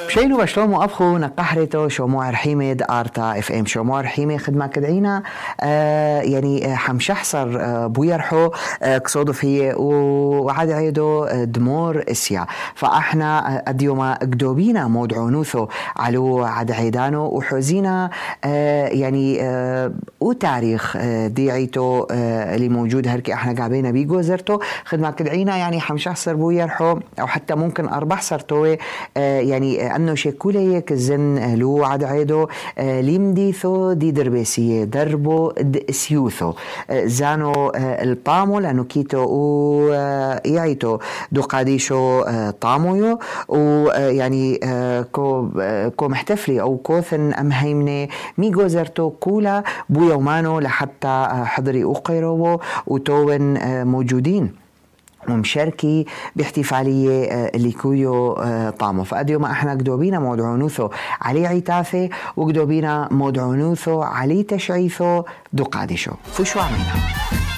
بشيلو بشلومو أبخو نقحرتو شوموع رحيمة آرتا اف ام شوموع رحيمة خدمة كدعينا يعني حمشحصر بويرحو كصودف هي وعاد عيدو دمور اسيا فاحنا اديوما قدوبينا مودعونوثو علو عاد عيدانو وحوزينا يعني وتاريخ ديعيتو اللي موجود هركي احنا قابينا بيقو زرتو خدمة كدعينا يعني حمشحصر بويرحو او حتى ممكن اربح صرتوه يعني انه شكولي كزن لو عاد عيدو ليمديثو دي دربيسية دربو سيوثو زانو الطامو لانو كيتو ويعيتو دو قاديشو طامويو ويعني كو محتفلي او كوثن امهيمني ميقو زرتو كولا بو يومانو لحتى حضري اوقيرو وتوين موجودين ومشاركي باحتفالية اللي كويو طامو فأديو ما احنا قدوبينا مودعونوثو علي عيتاثي وقدوبينا مودعونوثو علي تشعيثو دو قادشو فشو عمينا